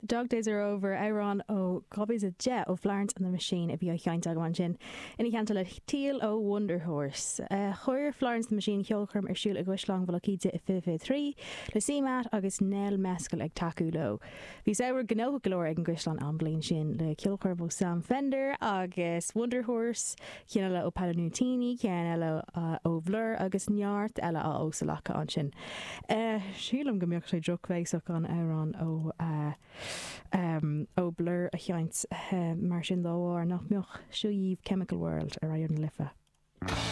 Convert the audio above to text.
Dog Days Are Over, amhrán ó 2010 ó Florence and the Machine a bhí á sheinnt agam ansin, ina theannta le Teal ó Wunderhorse. Chuir Florence and the Machine ceolchoirm ar siúl i gCaisleán Mhullach Íde i 2023, le CMAT agus Nell Mescal ag tacú leo. Bhí samhradh gnóthach go leor ag an gCaisleán an bhliain sin, le ceolchoirm ó Sam Fender agus Wunderhorse, ceann eile ó Paolo Nutini, ceann eile ó Bhlur agus neart eile á óstalacadh ansin. Sílim go mbeadh sé drochbhéasach an amhrán ó ó Blur a sheinnt mar sin dá bharr, nach mbeadh? Seo dhaoibh Chemical World ar Raidió na Life.